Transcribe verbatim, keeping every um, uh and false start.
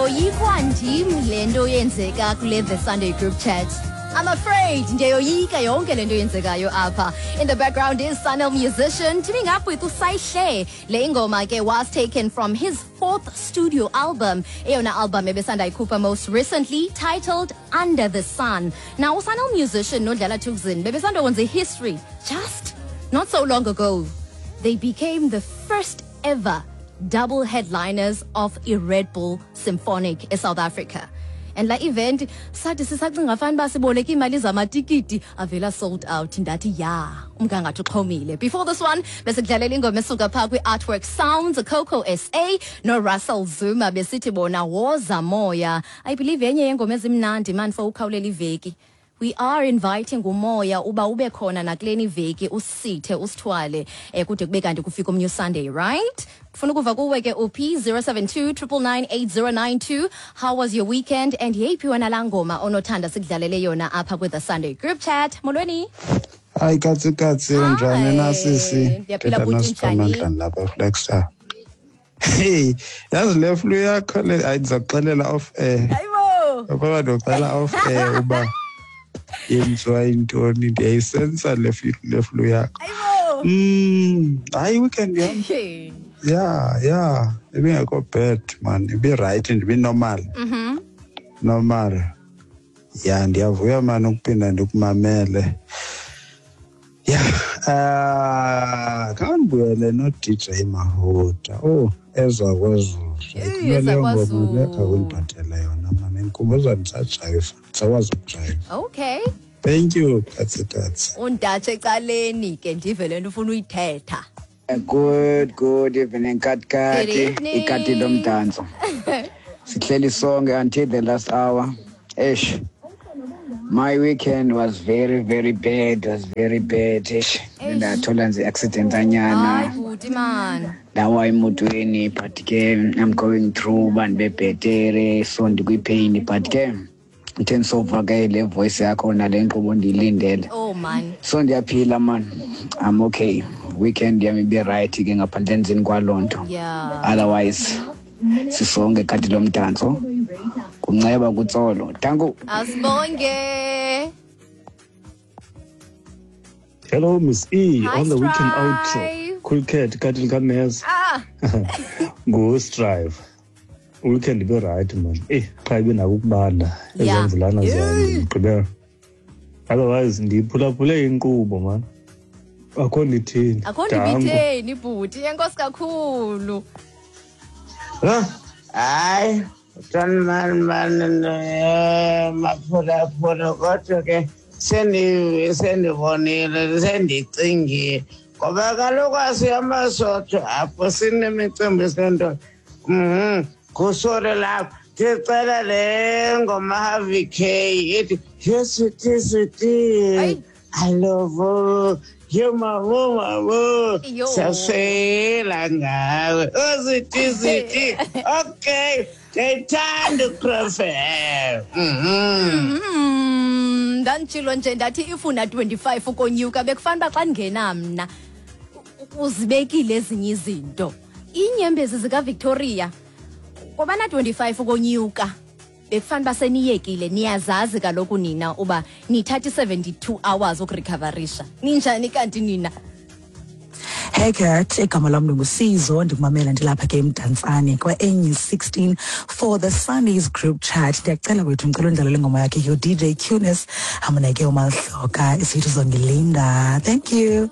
Yoyikwa ndim le nto yenzeka kule The Sunday Group Chat. I'm afraid ndiyayoyika yonke le nto yenzekayo apha. In the background is Sun-El Musician teaming up with uSaihle. Le ingoma ke was taken from his fourth studio album, eyona album ebesanda ikhupha most recently, titled Under the Sun. Now uSun-El Musician noDlala Thukzin bebesanda kwenza history just not so long ago. They became the first ever double headliners of a Red Bull Symphonic in South Africa. And la event sathi sisacinga fani uba siboleke iimali zamatikiti, avela sold out. Ndathi ya, umgangatho uxhomile. Before this one besikudlalela ingoma esuka phaa kwi-Artwork Sounds, Coco S A noRussell Zuma, besithi bona Woza Moya. I believe yenye yeengoma ezimnandi man for ukhawulela iveki. We are inviting umoya uba ube khona nakuleni iveki, usithe usithwale eh kude kube kanti kufika omnye Sunday, right? Funa ukuva kuwe ke uphi. zero seven two nine nine nine eight zero nine two. How was your weekend and yeyiphi wena laa ngoma onothanda sikudlalele yona apha kwi The Sunday Group Chat? Molweni. Hayi katsi katsi, unjani na sisi? Ndiyaphila, Thetha bhuti, noSiphamandla njani? lapha Flexer. Hey, yazi le flu yakho le, hayi, ndizakuxelela off air. Hayibo. Ngoba ndicela off air uba yenziwa yintoni, ndiyayisensa le flu le flu yakho. Hayibo. Mm, hayi, weekend yam. Hey. Yeah, yeah, ibingekho bad man, ibi right, ndibi normal. Mhm. Normal. Ya, ndiyavuya man ukuphinda ndikumamele. Ya, ah, khandibuyele no-D J Mahuta. Oh, eza kwaZulu. Eyi, Kumele eza ngoma kwaZulu. le khawundiphathele yona man. Indikhumbuza ndisajayiva, ndisakwazi ukujayiva. Okay. Thank you, katsi katsi. Undatshe ecaleni ke, ndive le nto ufuna uyithetha. Good, good evening, Kat Good Kati. evening. Ikati lomdanso. Sihleli sonke until the last hour. Eish. My weekend was very, very bad, was very bad. Eish. Eish. Ndathola nje accident Hayi anyana. bhuti man. Ndawa emotweni, but ke I'm going through bandibebhetere, so ndikwi-pain, but ke ndithe ndisova ke le voice yakho nale nkqubo ndiyilindele. Oh man. So ndiyaphila man, I'm okay. Weekend yam ibe right ke ngaphandle endlini kwaloo nto. Yeah. Otherwise sisonke, kati lomdanso, kunceba kutsolo, danko. Asibonge. Hello, Miss E. Hi, On the weekend outro. Strive. Cool cat, kati likameza. Ah. Go Strive. Weekend ibe right man. Eh, qha ibe nako ukubanda Yeah. ezemvulana zomgqibelo. Otherwise ndiyiphulaphule inkqubo man. Akho ndithini. Akho Danko. ndibitheni bhuti. Enkosi kakhulu. Ha? Hayi, mani mani, eh, maphulaphula, kodwa ke sendi sendibonile, sendicingile, ngoba kaloku asiyamasotho apho sinemicimbi sento mhm kusore lapho. Ndicela le ngoma Harvey K ithi "Yes sweetie, sweetie." Hayi. I love you, mama, mama. Yo. Siyaswela ngawe, oh sweetie, sweetie. Okay, ndiyayithanda uCross F M mhm Mm, ndanditshilo nje ndathi ifuna twenty-five ukonyuka, bekufanele uba xa ndingena mna u- uzibekile ezinye izinto. Iinyembezi zikaVictoria kwabana twenty-five ukonyuka, bekufanele uba seniyekile. Niyazazi kaloku nina uba nithatha i-seventy-two hours ukurecoverisha. Ninjani kanti nina? Hey Kat, igama lam ndinguSizo, ndikumamela ndilapha ke eMdantsane kwa-N sixteen for the Sundays Group Chat. Ndiyacela wethu, ndicela undlalele ingoma yakhe yo D J Cunis amuneke uMahloka, isithi "Uzongilinda". Thank you.